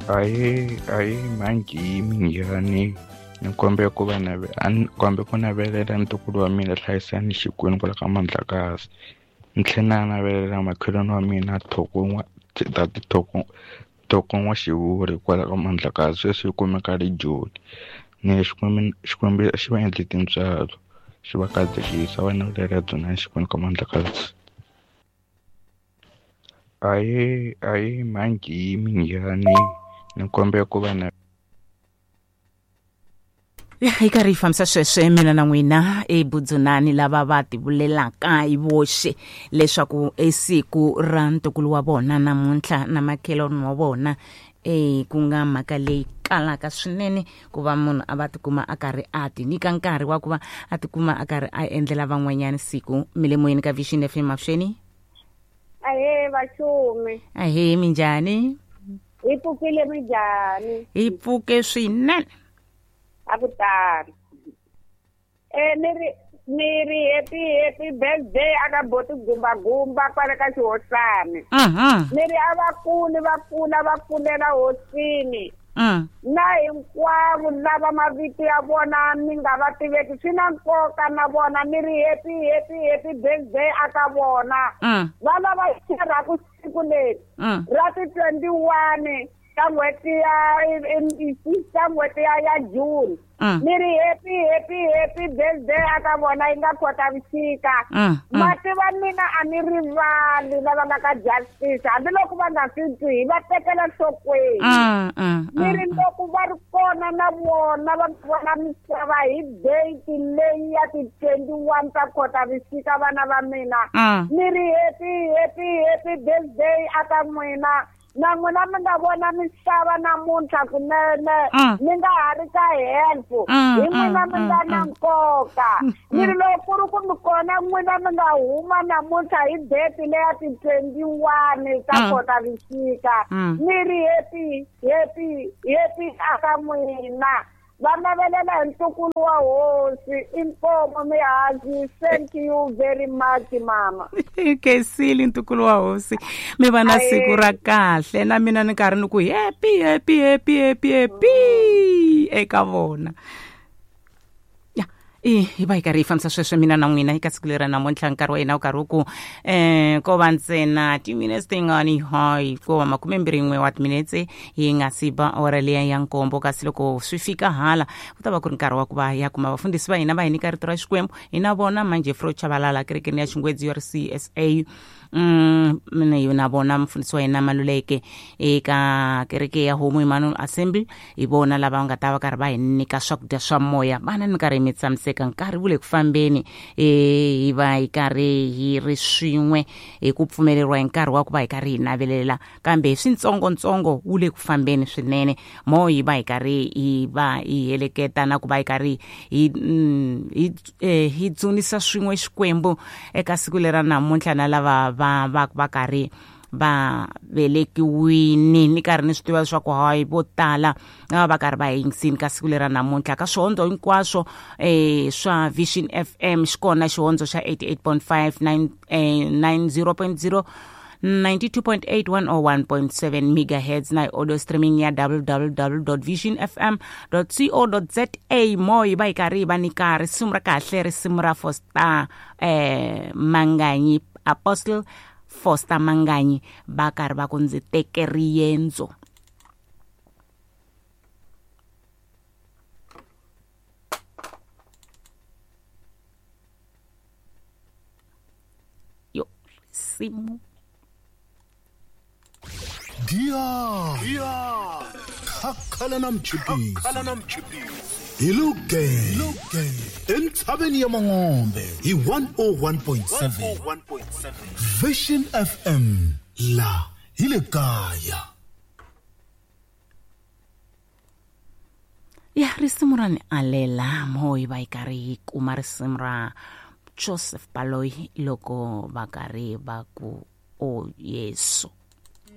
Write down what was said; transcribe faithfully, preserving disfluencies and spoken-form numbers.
Ahee, ahee, manjhi minjhani? Ni kombela ku va nave a ni kombe ku navelela ntukulu wa mina Hlayisani Xikwembu kwala ka Mandlakazi. Ni tlhela na navelela makhelwani wa mina Thoko n'wa tati Thoko Thoko N'wa-Xivuri kwala ka Mandlakazi, sweswi u kumeka le Joni. Ni Xikwembu Xikwembu xi va endle tintswalo, xi va katekisa, va navelela byona Xikwembu ka Mandlakazi. Ahee, ahee, manjhi minjhani? Ni kombela ku va na Ya hi karhi hi fambisa sweswo mina na n'wina ebudzunani lava va tivulelaka hi voxe leswaku i siku ra ntukulu wa vona namuntlha na makhelwani wa vona, e ku nga mhaka leyi kalaka swinene ku va munhu a va tikuma a karhi a ti nyika nkarhi wa ku va a tikuma a karhi a endlela van'wanyana siku. Mi le moyeni ka Vision F M, avuxeni. Ahee vaxumi. Ahee, minjhani? Hi pfukile minjhani? Hi pfuke swinene. A ku tani. Eh ni ri ni ri happy happy birthday aka boti gumba gumba kwale ka xihosani. Mhm. Ni ri a va kuli va kula va kulela hosini. Mm. Na hinkwavo lava mavito ya vona ni nga va tiveki swi na nkoka na vona, ni ri happy happy happy birthday aka vona. Mm. Va lava xerhaku siku leri Mm. ra ti twenty-one ka n'hweti ya ka n'hweti ya ya June. Mm. Ni ri happy happy happy birthday aka vona yi nga Khotavuxika. Mm, mm. Mativa mina a ni rivali lava nga ka Justice, hambiloko va nga swi twi hi va tekela nhlokweni. Mm, mm, Ni ri mm. loko va ri kona na vona va vona misava hi date leyi ya ti twenty-one ta Khotavuxika vana va mina. Mm. Ni ri happy happy happy birthday aka n'wina. Na n'wina mi nga vona misava namuntlha kunene, Mm. mi nga ha ri ka help, Mm, hi n'wina mm, mi nga mm, na mm. nkoka. Mm, Ni ri mm. loko ku ri ku mi kona n'wina mi nga huma namuntlha hi date leya ti twenty-one ta Mm. Khotavuxika. Mm. Ni ri happy happy happy aka n'wina. Va navelela hi ntukulu wa hosi, inkomo mihazi. Thank you very much mama. Khensile ntukulu wa hosi, mi va na siku ra kahle. Na mina ni karhi ni ku happy happy happy happy happy eka vona. Ya, i hi va hi karhi hi fambisa sweswo mina na n'wina eka siku leri namuntlha. Nkarhi wa hina wu karhi wu ku um ko va ntsena timinetse tingani, hayi ko va makumembirhi n'we wa timinetse hi nga si ba awara liya ya nkombo. Kasi loko swi fika hala ku ta va ku ri nkarhi wa ku va ya kuma vafundhisi va hina va hi nyika rito ra Xikwembu. Hi na vona manjhe Fro Chabalala kerekeni ya Xingwedzi ya C S A. Mm, na vona mufundhisi wa hina Maluleke eka kereke ya Homo Emmanuel Assembly. Hi vona lava nga ta va karhi va hi nyika swakudya swa moya. Vana ni karhi mi tshamiseka, nkarhi wu le ku fambeni, eh hi va hi karhi hi ri swin'we hi ku pfumeleriwa hi nkarhi wa ku va hi karhi hi navelela, kambe hi switsongotsongo wu le ku fambeni swinene. Mo hi va hi karhi hi va hi heleketa na ku va hi karhi hi hi hi dzunisa swin'we Xikwembu eka siku lera namuntlha na lava va va va karhi va velekiwini. Ni karhi ni swi tiva leswaku hayi vo tala va va karhi va yingisini ka siku lera namuntlha ka swihondzo hinkwaswo eh swa Vision F M. Xikona xihondzo xa eighty-eight point five, nine, eh, nine zero point zero, ninety-two point eight, one oh one point seven megahertz na audio streaming ya w w w dot vision f m dot co dot z a. Mo hi va hi karhi hi va nyika risimu ra kahle, risimu ra Foster eh Manganyi, Apostle Foster Manganyi, va karhi va ku ndzi teke riendzo. Yo, risimu. Dia, dia. Khakhala na mchipisi. Khakhala na mchipisi. Hi luge. Entshaveni ya Mangombe hi one oh one point seven. Vision F M la hi le kaya. Ya risimu ra ni alela mo hi va hi karhi hi kuma risimu ra Joseph Baloyi loko va karhi va ku o Yesu.